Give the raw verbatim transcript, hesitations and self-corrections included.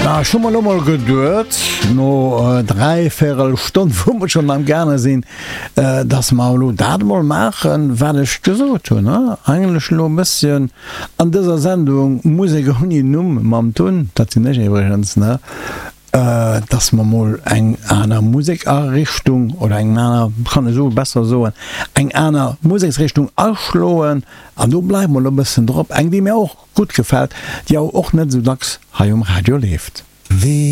Ja, ech hu mer lo mol geduet, no dräivierel Stonn, wou mer schonn am gaange sinn, dass mer elo dat emol maachen, wat ech gesot hunn, ne? Eigentlech elo e bësschen an dëser Sendung Musek ouni Numm mam Tun, dat sinn ech iwwregens, ne? Dass mer mol eng aner Musekarichtung oder eng aner, kann ech esou besser soen, eng aner Museksrichtung aschloen. An do bleiwe mer elo e bëssen drop, eng, déi mir och gutt gefält, déi awer och net esou dacks hei um Radio leeft.